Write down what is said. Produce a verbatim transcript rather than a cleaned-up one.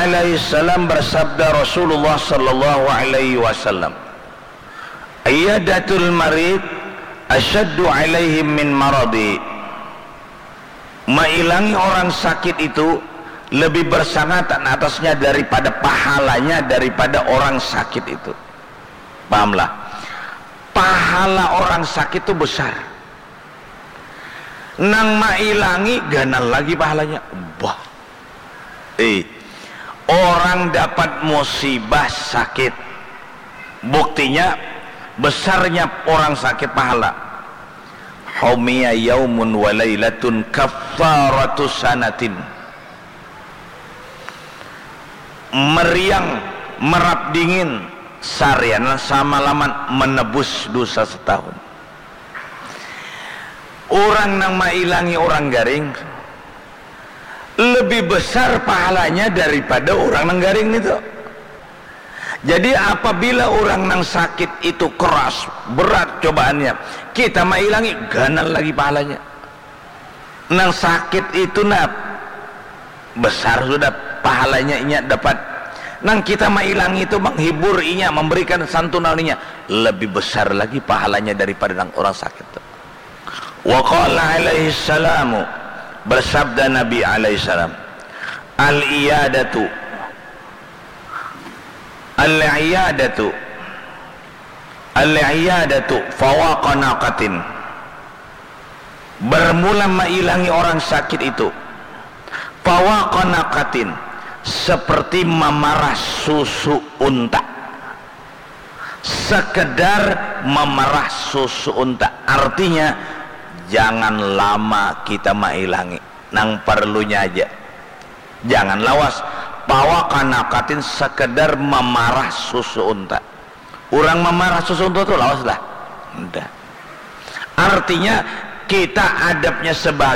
alaihi salam bersabda Rasulullah sallallahu alaihi wasallam, "Iyadatul marid asyaddu alaihim min maradi." Mailangi orang sakit itu lebih bersangatan atasnya daripada pahalanya daripada orang sakit itu. Pahamlah? Pahala orang sakit itu besar. Nang mailangi ganal lagi pahalanya. Bah. Eh, orang dapat musibah sakit. Buktinya besarnya orang sakit pahala. Humiya yaumun wa lailatun kaffaratu sanatin. Meriang, merap dingin, sarianan samalaman menebus dosa setahun. Orang nang mailangi orang garing lebih besar pahalanya daripada orang nang garing itu. Jadi apabila orang nang sakit itu keras, berat cobaannya, kita mailangi, ganal lagi pahalanya. Nang sakit itu nah besar sudah pahalanya inya dapat. Nang kita mailangi itu menghibur inya, memberikan santunan inya, lebih besar lagi pahalanya daripada nang orang sakit itu. Wa qala alaihi salamu, bersabda Nabi alaihi salam, "Al-iyadatu, al-iyadatu, al-iyadatu fawaqa naqatin." Bermula mailangi orang sakit itu, fawaqa naqatin, seperti mamarah susu unta. Sekedar mamarah susu unta. Artinya, jangan lama kita mailangi. Nang perlunya aja. Jangan lawas. Fawaqa naqatin, sekedar mamarah susu unta. Urang mamarah susu unta tu lawas lah? Nda. Artinya, kita adabnya sebagai